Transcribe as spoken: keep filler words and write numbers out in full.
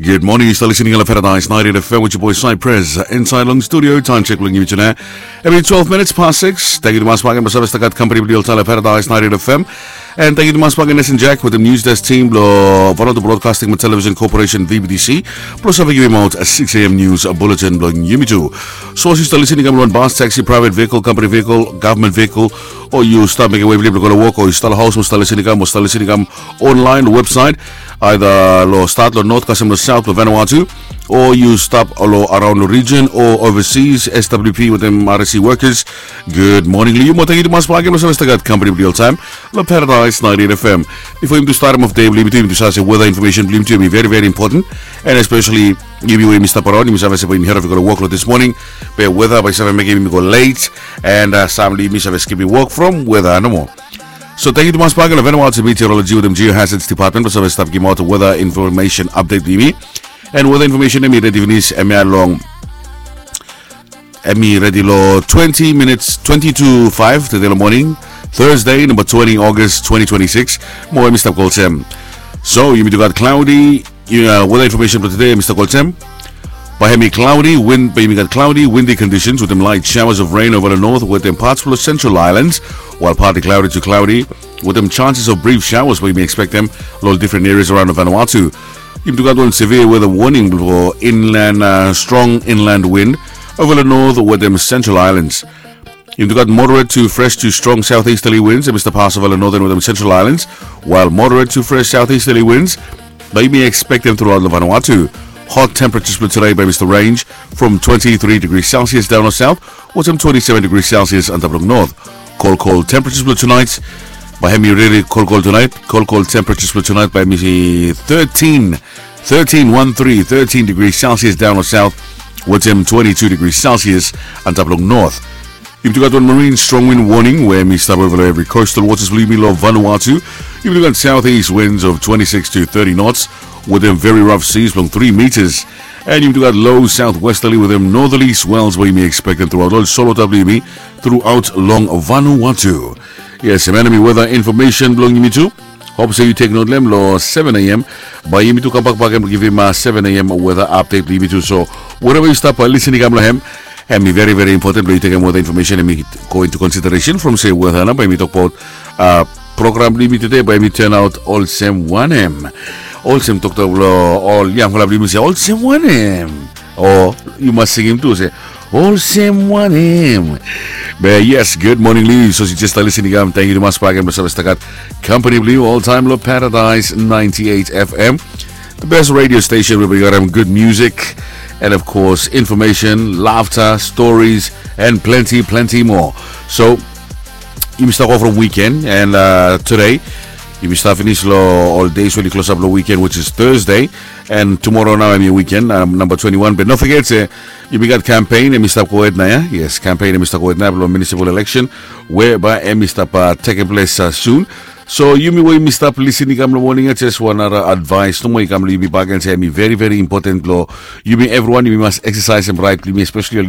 Gud moning, yu stap listening long Paradise ninety-eight F M with your boy Cypress. Inside long studio, time check blong yumi tude. Hemi twelve minutes past six. Tangkiu tumas bakegen blong save stap gat kampani blong yu oltaem long Paradise ninety-eight F M. And tangkiu tumas bakegen Nation Jack wetem News Desk team blong Vanuatu Broadcasting and Television Corporation, V B T C, blong save givimaot six a.m. news bulletin blong yumi tu. So as yu stap listening long wan bus, taxi, private vehicle, company vehicle, government vehicle, o yu stap mekem wei blong yu blong go long wok, o yu stap long haos mo stap listening, o stap listening online long website, aeda long stat long north kasem long south blong Vanuatu, o yu stap long araon long region o overseas, S W P wetem R S C workers. Gud moning long yu mo tangkiu tumas bakegen blong save stap gat kampani blong yu oltaem long Paradise ninety-eight F M. Bifo yumi tu starem of dei blong yumi tu, yumi tu save se weather information blong yumi tu hemi very very important. And especially yumi we yumi stap araon, yumi save se bae yumi hed of i go long wok long this morning, be weather bae i save mekem yumi go late. And uh, sam blong yumi save skipim wok from weather nomo. So tangkiu tumas bakegen long Vanuatu Meteorology wetem Geohazards Department blong save stap givimaot weather information update blong yumi. And weather information hemi redi finis, hemia long, hemi redi long twenty minutes, twenty to five tede long moning, Thursday, namba twenty August twenty twenty-six. Mo hemi stap go olsem. So yumi tu gat cloudy, uh, weather information blong tede, hemi stap go olsem. Bae hemi cloudy, wind, bae yumi gat cloudy, windy conditions wetem light showers of rain over the north wetem parts blong Central Islands, while partly cloudy to cloudy wetem chances of brief showers bae yumi expectem long different areas around Vanuatu. Yumi tu gat wan severe weather warning blong inland, uh, strong inland wind over the north wetem Central Islands. Yumi tu gat moderate to fresh to strong southeasterly winds hemi stap pas over long northern wetem Central Islands, while moderate to fresh southeasterly winds bae yumi expectem throughout long Vanuatu. Hot temperatures blong tude bae hemi stap range from twenty-three degrees Celsius down long south wetem twenty-seven degrees Celsius antap long north. Cold, cold temperatures blong tonight bae hemi really cold, cold tonight. Cold, cold temperatures blong tonight bae hemi thirteen, thirteen, one three, thirteen degrees Celsius down long south wetem twenty-two degrees Celsius antap long north. Yumi tu gat wan marine strong wind warning we hemi stap over long evri coastal waters blong yumi long Vanuatu. Yumi tu gat southeast winds of twenty-six to thirty knots wetem very rough seas blong three meters. And yumi tu gat low southwesterly wetem northerly swells bae yumi expectem throughout long solota blong yumi throughout long Vanuatu. Yes, hemia hemi weather information blong yumi tu. Hope se yu tek not long hem long seven a.m. Bae yumi tu kambak bakegen blong givim, uh, seven a.m. weather update blong yumi tu. So wherever yu stap, uh, listening long hem, hemi very very important blong yu tekem weather information hemi go into consideration from se weather nao bae yumi tokbaot, uh, program blong yumi tude bae hemi turn out olsem wanem. Olsem toktok blong ol yangfala blong yumi se olsem wanem. O yu mas singim tu se olsem wanem. Be yes, gud moning long yu. So yu jes stap listening long hem, tangkiu tumas bakegen blong save stap gat kampani blong yu oltaem long Paradise ninety-eight F M, the best radio station where we got, um, good music and of course information, laughter, stories and plenty plenty more. So yumi stap go from weekend and, uh, tude yumi stap finis long ol days we oli klosap long weekend, which is Thursday. And tomorrow nao hemi weekend, um, namba twenty-one. Be no foget se yumi gat campaign hemi stap gohed nao, ya. Yes, campaign hemi stap gohed nao blong municipal election we bae hemi stap, uh, tekem ples, uh, soon. So yumi we yumi stap listening long hem long moning ya, jes wan nara advice nomo i kam long yumi bakegen se hemi very very important blong yumi evriwan, yumi mas exercisem right blong yumi, especially ol